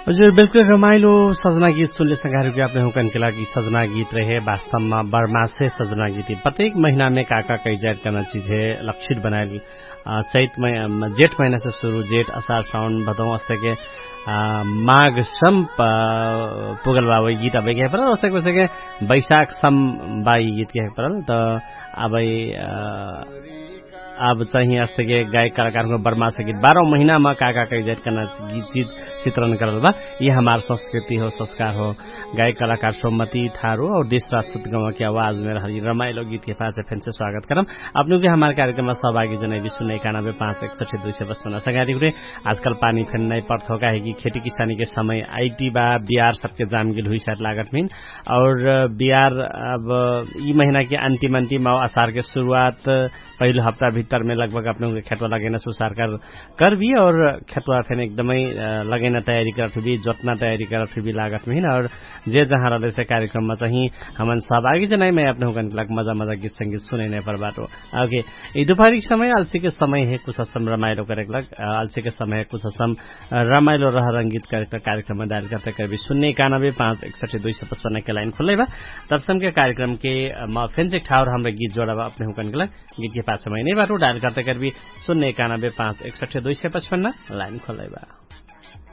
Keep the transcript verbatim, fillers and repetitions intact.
हजुर, बिल्कुल रमाइलो सजना गीत सुनले संघारु के अपने हुकन के लागि सजना गीत रहे। वास्तवमा बर्मासे सजना गीत प्रत्येक महिनामे का का कैजाइट कर्ना चिज हे लक्षित बनाइल। चैत जेठ महिनासे सुरु जेठ असार साउन भदौ अस्तके माघ सम पुगल बा वही गीत अबैके हे परल अस्तके वस्तके बैशाख सम बा यी गीत के हे परल त अबै अब चाही अस्तके गायक कलाकारको बर्मासे गीत बारौ महिनामा का का कैजाइट कर्ना गीत चिज चित्रण करल बा। यि हमार संस्कृति हो संस्कार हो। गायक कलाकार सोमति थारु और देश राष्ट्रपति गौवा के आवाज मेर हरि रमाइलो गीत के पाछे फेन्से स्वागत करम। अपनु के हमार कार्यक्रम सहभागी जनै विश्व नै कानाबे पाँच एक सठे दुई सय बस्पना संगारी हुरे। आजकल पानी फेन नै पर्थो काहे कि खेती किसानी के समय आइटी बा बिहार सबके जामगिल हुई साथ लागत मिन। और बिहार अब यि महिना के अन्तिम अन्तिम आउ असार के सुरुवात पहिलो हप्ता भित्तर मे लगभग अपने हुँके खेतवा लगैना सुसार कर करबी और खेतवा फेन एकदमै लगैना तयारी करत हुइबी जोतना तयारी करत हुइबी लागत महिन। और जे जहाँ रहलेसे कार्यक्रममा चाही हमन सहभागी जनाइमे अपने हुँकन के लाग मजा मजा गीत संगीत सुनैनै परबाटो। अके यि दुपहरी के समय अल्सी के समय हे कुछ असम रमाइलो करेक लाग अल्सी के समय हे कुछ असम रमाइलो रह रंगीत करेक कार्यक्रममा डायल करते करबी सुन्ने कानबे पाँच एक सठे दुई सय पचपन्न के लाइन खुल्लै बा। तब समके कार्यक्रम के म फेन्से ठाउर हमरा गीत जोडा बा अपने हुँकन के लाग गीत के पाछा महिनै बाटो डायल करते करबी सुन्ने कानबे पाँच एक सठे दुई सय पचपन्न लाइन खुल्लै बा।